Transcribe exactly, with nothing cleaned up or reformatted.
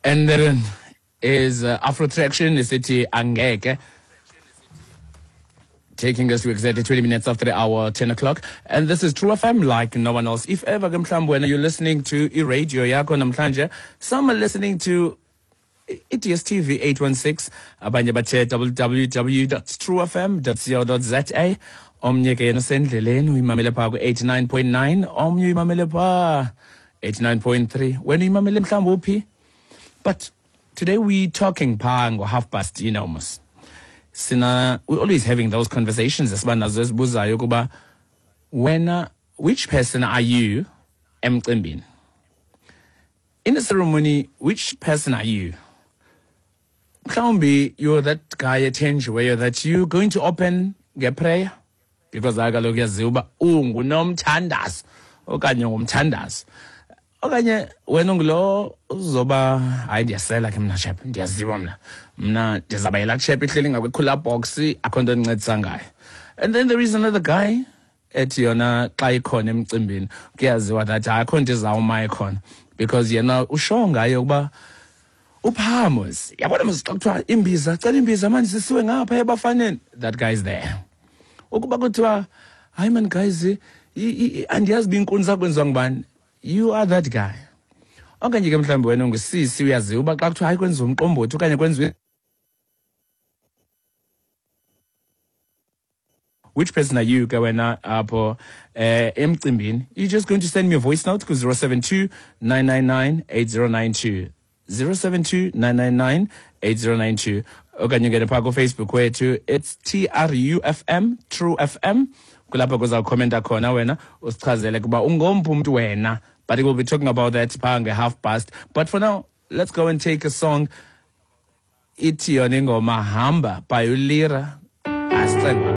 And then is uh, Afro Traction isithi Angeke, taking us to exactly twenty minutes after the hour, ten o'clock. And this is True F M like no one else. If ever ke mhlawumbi wena you're listening to i-radio yakho namhlanje, some are listening to I D S T V eight one six, abanye bathe w w w dot true f m dot co dot z a. Omnye ke yena usendleleni uyimamele phaa ku eighty-nine point nine, omnye uyimamele phaa eighty-nine point three. Wena uyimamele mhlawumbi uphi? But today we talking phaa ngo half past, you know, mos. Sina, we're always having those conversations esiba nazo esibuzayo ukuba wena, which person are you emcimbini? In the ceremony, which person are you? Mhlawumbi you're that guy ethenjiweyo that you're going to open ngeprayer because kaloku yaziwa uba ungunomthandazo okanye ngumthandazo. Okanye wena ungulo uzoba hayi ndiyasela ke mna chap, ndiyaziwa mna. Mna ndizaba yilaa chap ihleli ngakwi-cooler box, akho nto endincedisa ngayo. And then there is another guy ethi yona xa ikhona emcimbini kuyaziwa that hayi akho nto izawuma ikhona because yena usho ngaye ukuba uphamos. Yabona mos xa kuthiwa imbiza, cela imbiza manje sisiwe ngapha ebafaneni, that guy is there. Ukuba kuthiwa hayi man guys, andiyazi uba iinkunzi zakwenziwa ngubani, you are that guy. Okanye ke mhlawumbi wena ungusisi uyaziwa uba xa kuthiwa hayi kwenziwa umqombothi okanye kwenziwe, which person are you ke wena apho eh emcimbini? You're just going to send me a voice note ku zero seven two nine nine nine eight zero nine two. zero seven two nine nine nine eight zero nine two. Okanye ungene phaa ku-Facebook wethu, it's T R U F M, True F M. Kulapho kuzawukhomenta khona wena usichazele kuba ungomphi umntu wena. But we'll be talking about that phaa nge-half past. But for now, let's go and take a song. Ithi yona ingoma Hamba by uLira. Asicengwa.